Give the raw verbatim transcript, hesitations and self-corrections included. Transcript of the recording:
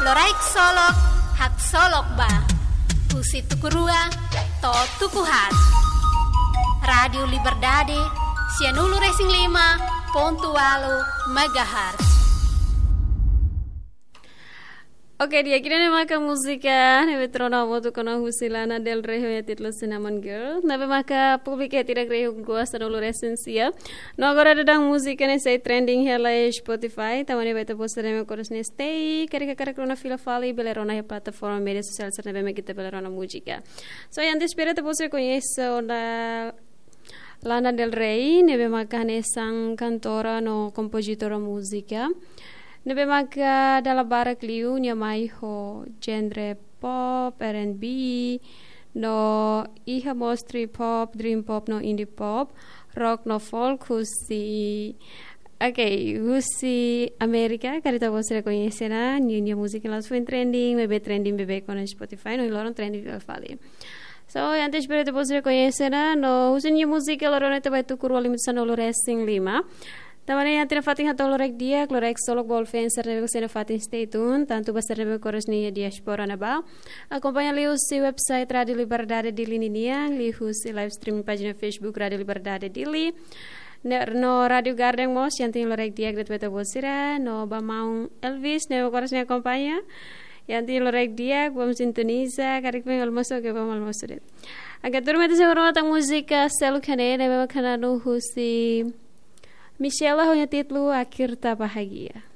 Loraik Solok, Haksolok Ba. Husi tuku rua to'o tuku haat. Rádiu Liberdade, sianulu-resin-lima pontu ualu megahertz. Oke, di'ak, ida-ne'e maka múzika ne'ebé tuur ona hamutuk ona husi Lana Del Rey ho nia títulu Cinnamon Girl. Ne'ebé maka públiku iha tiha rihun rua sanulu-resin-sia. No agora daudaun múzika ne'e sei trending hela iha Spotify. Tanba ne'e ba ita-boot sira ne'ebé kores ne'e stay. Karik hakarak rona fila fali bele rona iha plataforma média sosiál sira ne'ebé mak ita bele rona múzika. So, antes espera ita-boot sira koñese ona Lana Del Rey, ne'ebé maka hanesan kantora no kompozitora múzika. Ne'ebé maka dala barak liu nia mai ho genre pop, R and B, no iha mós trip hop, dream pop no indie pop, rock no folk husi, oke, husi Amérika, karik ita-boot sira koñese ona, nia, nia múzika la'ós foin trending, maibé trending beibeik ona Spotify, no loron trending fila fali. So, antes espera ita-boot sira koñese ona, no husi nia múzika loron ne'e ita ba tuku rua limitu sanulu-resin-lima. Tanba ne'e iha tiha fatin hato'o loraik di'ak, loraik Solok ba all fans sira ne'ebé kores iha fatin, stay tuned, tantu ba sira ne'ebé kores iha diáspora ne'ebá. Akompaña liuhusi website Rádiu Liberdade Dili ninian, liuhusi live streaming pájina Facebook Rádiu Liberdade Dili. Ne-, no Rádiu Garden mós, iha tiha loraik di'ak ba ita-boot sira, no ba maun Elvis, ne'ebé kores iha akompaña. Iha tiha loraik di'ak, vamos sintoniza, karik foin almosu, oke, vamos almosu de'it. Agora tuur mai ita sei rona tan múzika seluk hanesan ne'e, ne'ebé maka na'an husi Michela ho nia títulu Akhir Tak Bahagia.